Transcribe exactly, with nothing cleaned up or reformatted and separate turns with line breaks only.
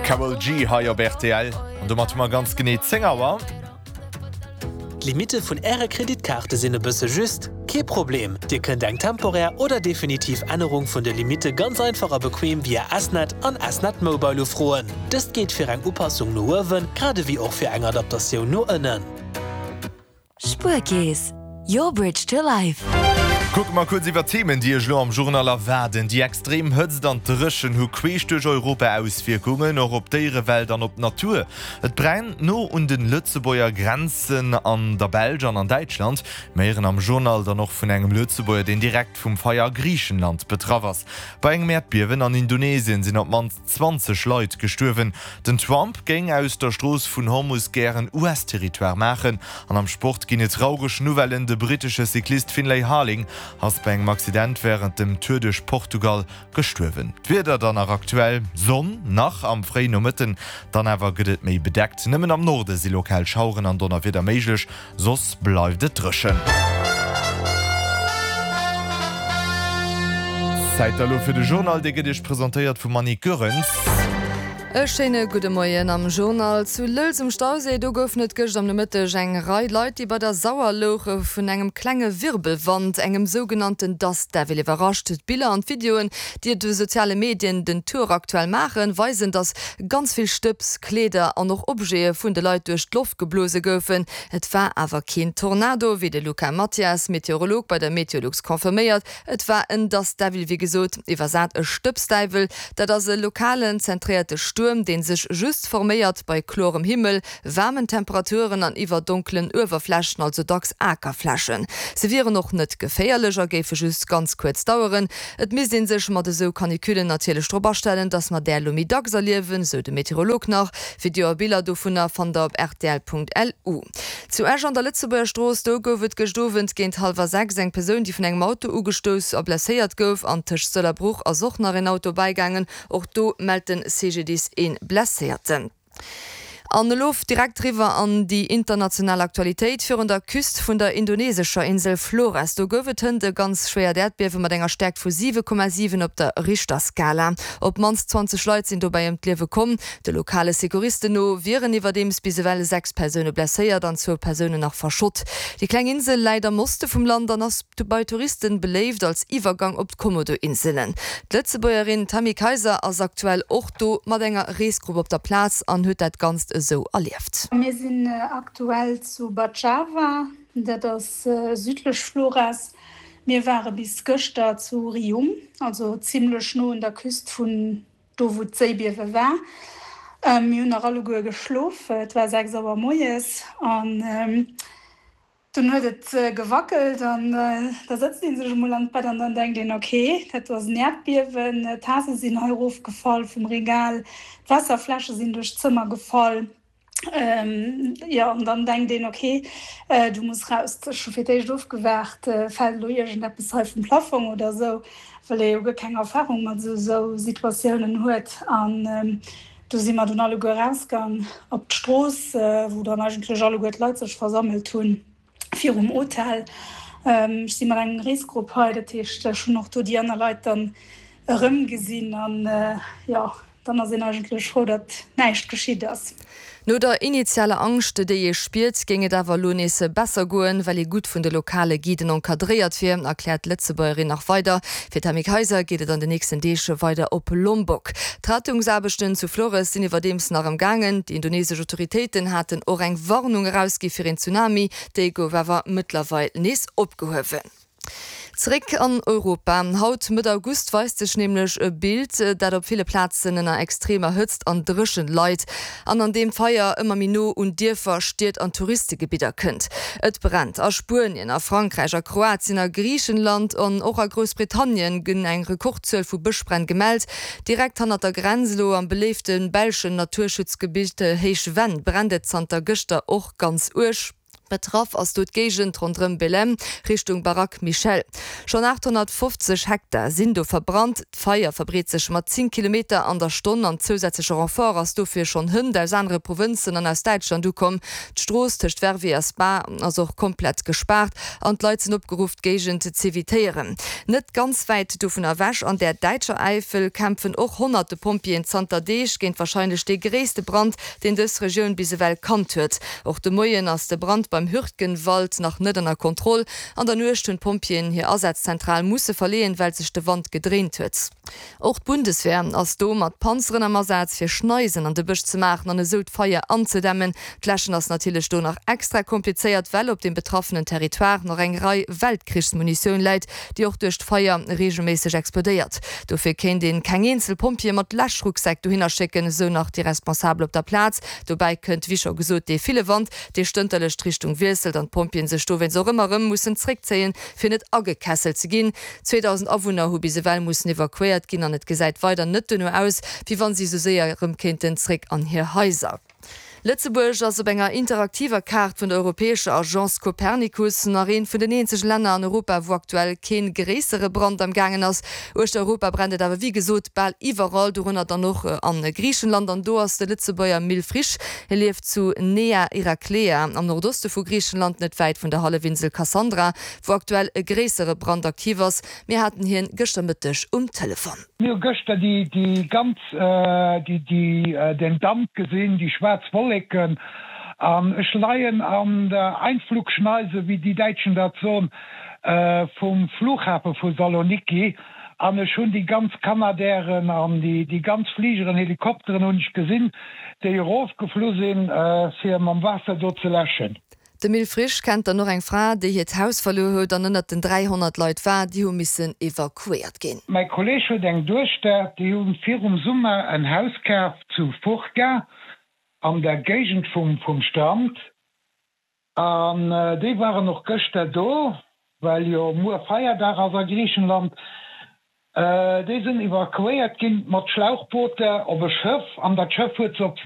Karol G hei op rtl an domat hu mer ganz genee zéng Auer.
D'Limitte vun Äre Kreditkaarte sinn e bësse just? Kee Problem, Dir kënnt eng temporär oder definitiv Ännerung vun de Limitte ganz einfach a bequem via S-Net an S-Net Mobile ufroen. Dëst geet fir eng Upassung no uewen, grad ewéi och fir eng Adaptatioun no ënnen.
Spuerkeess, your bridge to life.
Kucke mer kuerz iwwer d'Themen, déi Iech elo am Journal erwaarden. Déi extrem Hëtzt an d'Dréchen hu queesch duerch Europa Auswierkungen, och op d'Déierewelt an op d'Natur. Et brennt no un de Lëtzebuerger Grenzen an der Belsch an an Däitschland. Mir héieren am Journal dann och vun engem Lëtzebuerger, deen direkt vum Feier a Griichenland betraff ass. Bei engem Äerdbiewen an Indonesien sinn op d'mannst zwanzeg Leit gestuerwen. Den Trump géing aus der Strooss vun Hormus gären U S-Territoire maachen. An am Sport ginn et traureg Nouvellen, De brittesche Cyclist Finlay Harling ass bei engem Accident wärend dem Tour duerch Portugal gestuerwen. D'Wieder dann nach aktuell, Sonn nach am fréien Nomëtten, dann awer gëtt et méi bedeckt. Nëmmen am Norde si lokal Schaueren an Donnerwieder méiglech, soss bleift et dréchen. Zäit elo fir de Journal, dee gëtt Iech presentéiert vum Annick Goerens.
E schéine gudde Moien am Journal. Zu Lëlz um Stauséi, do goufen et gëscht am Nomëtteg eng Rei Leit, déi bei der Sauer louche vun engem klenge Wirbelwand, engem sougenannten Dust Devil iwwerrascht. D'Biller an d'Videoen, déi et de soziale Medien den Tour aktuell maachen, weisen, dass ganz vill Stëbs, Kleeder an och Objete vun de Leit duerch d'Loft geblose goufen. Et war awer keen Tornado, wéi de Luca Mathias, Meteorolog bei der Meteolux confirméiert. Et war en Dust Devil, wéi gesot, iwwersat e Stëbsdäiwel. Dat ass e lokalen, zentréierte Stuerm, dee sech just forméiert bei klorem Himmel, waarmen Temperaturen an iwwer donkelen Uewerflächen, also dacks Akerflächen. Se wieren och net geféierlech a géife just ganz kuerz daueren. Et misst ee sech mat esou Canicullen natierlech drop astellen, dass mer där elo méi dacks erliewen, sou de Meteorolog nach. Video a Biller dovunner fannt der op rtl.lu. Zu Esch an der Lëtzebuerger Strooss, do gouf et gëscht Owend géint hallwer sechs eng Persoun, déi vun engem Auto ugestouss a blesséiert gouf. An tëscht Sëll a Bruch ass och nach een Auto bäigaangen. Och do mellt de C G D I S ee Blesséierten. An elo direkt riwwer an déi international Aktualitéit. Virun der Küst vun der indonesescher Insel Flores, do gouf et hënt e ganz schwéiert Äerdbiewe mat enger Stäerkt vu siwe Komma siwen op der Richterskala. Op d'mannst zwanzeg Leit sinn dobäi ëm d'Liewe komm. De lokale Secouristen no wieren iwwerdeems bis ewell sechs Persoune blesséiert an zwou Persounen nach verschott. Déi kleng Insel läit am Oste vum Land an ass bei Touristen beléift als Iwwergang op d'Komodo-Inselen. D'Lëtzebuergerin Tammy Kayser ass aktuell och do mat enger Reesgrupp op der Plaz an huet dat Ganzt esou erlieft.
Mir sinn aktuell zu Bajawa, dat ass südlech Flores. Mir ware bis gëschter zu Riung, also zimmlech no un der Küst vun do wou d'Séibiewe war. Mir hunn nach alleguer geschlof, et war sechs Auer moies an dunn huet et gewackelt an da sëtzt ee sech emol an d'Bett an dann denkt een, ok, dat ass en Äerdbiewen, d'Tase sinn hei erofgefall vum Regal, d'Waasserfläsche sinn duerch d'Zëmmer gefall. Jo, an dann denkt een, ok, du muss raus. Ech hu fir d'éischt ofgewaart, fält elo iergendeppes hei vum Plafong oder esou, well ee jo guer keng Erfarung mat esou Situatiounen huet. An do si mer dunn alleguer erausgaang op d'Strooss, wou dann eigentlech alleguer d'Leit sech versammelt hunn virum Hotel. Ech si mat engem Reesgrupp hei, dat heescht, ech hunn och do déi aner Leit dann erëmgesinn an jo, dann ass een eigentlech frou, datt näischt geschitt ass.
No der initialer Angscht, déi ee spiert, géing et awer elo nees besser goen, well ee gutt vun de lokale Guiden encadréiert wier, erkläert d'Lëtzebuergerin nach weider. Fir d'Tammy Kayser geet et an den nächsten Deeg weider op Lombok. D'Rettungsaarbechten zu Flores sinn iwwerdeems nach am gaangen. Déi indonesesch Autoritéiten haten och eng Warnung erausgi fir een Tsunami, déi gouf awer mëttlerweil nees opgehuewen. Zeréck an Europa. Haut, Mëtt August, weist sech nämlech e Bild, dat op ville Plazen ënner extremer Hëtzt an Dréchent leit an an deem d'Feier ëmmer méi no un Dierfer, Stied an Touristegebidder kënnt. Et brennt a Spuenien, a Frankräich, a Kroatien, a Griichenland an och a Groussbritannien gënn eng Rekordzuel vu Bëschbränn gemellt. Direkt hannert der Grenz, elo am beléifte belschen Naturschutzgebitt Héich Venn, brennt et zanter gëschter och ganz uerg. Betraff ass do d'Géigend ronderëm Belém, Richtung Baraque Michel. Schonn achthonnertfofzeg Hektar sinn do verbrannt. D'Feier verbreet sech mat zéng Kilometer an der Stonn an zousätzleche Renfort ass dofir schonn hënt aus anere Provënzen an aus Däitschland ukomm. D'Strooss tëscht Verviers a Spa ass och komplett gespaart an d'Leit sinn opgeruff d'Géigend z'evitéieren. Net ganz wäit dovun ewech, an der däitscher Äifel, kämpfen och honnerte Pompjeeën zanter Deeg géint warscheinlech dee gréisste Brand, deen dës Regioun bis ewell kannt huet. Och de Moien ass de Brand beim Hürtgenwald nach net ënner Kontroll. An der Nuecht hunn d'Pompjeeën hir Asazzentral musse verleeën, well sech de Wand gedréint huet. Och d'Bundeswehr ass do mat Panzeren am Asaz, fir Schneisen an de Bësch ze maachen an esou d'Feier anzedämmen. D'Läschen ass natierlech do nach extra komplizéiert, well op dem betraffenen Territoire nach eng Rei Weltkrichsmunitioun läit, déi och duerch d'Feier reegelméisseg explodéiert. Dofir kéint een keng eenzel Pompjeeë mat Läschrucksäck dohinner schécken, esou nach déi Responsabel op der Plaz. Dobäi kënnt, wéi scho gesot, dee ville Wand, dee stënterlech d'Richtung wiesselt an d'Pompjeeën sech dowéinst och ëmmer erëm mussen zréckzéien, fir net agekesselt ze ginn. zweedausend Awunner hu bis ewell mussen evakuéiert ginn an et gesäit weider net duerno aus, wéi wann si esou séier erëm kéinten zréck an hir Haiser. Lëtzebuerg ass op enger interaktiver Kaart vun der europäescher Agence Copernicus nach eent vun den eenzege Länner an Europa, wou aktuell kee gréissere Brand am gaangen ass. Uechter Europa brennt et awer wéi gesot bal iwwerall, dorënner dann och a Griichenland. An do ass de Lëtzebuerger Mil Frisch. Hie lieft zu Nea Iraklea am Nordoste vu Griichenland, net wäit vun der Hallefinsel Kassandra, wou aktuell e gréissere Brand aktiv ass. Mir haten hien gëschter Mëtteg um Telefon.
Mir hu gëschter déi ganz, den Damp gesinn, déi schwaarz Wolleken. An ech leien an der Einflugschneise, wéi déi Däitschen dat soen, vum Flughafe vu Saloniki. An ech hunn déi ganz Canadairen an déi ganz Fligeren, Helikopteren hunn ech gesinn, déi erofgeflu sinn, fir mam Waasser do ze läschen.
De Mil Frisch kennt dann och eng Fra, déi hiert Haus verluer huet an ënnert den dräihonnert Leit war, déi hu missen evakuéiert ginn.
Mäi Kolleeg huet eng Duechter, déi hu virum Summer en Haus kaf zu Fourka an der Géigend vum Strand an déi waren och gëschter do, well jo muer Feierdag ass a Griichenland. Déi sinn evakuéiert ginn mat Schlauchbooter op e Schëff an dat Schëff huet se op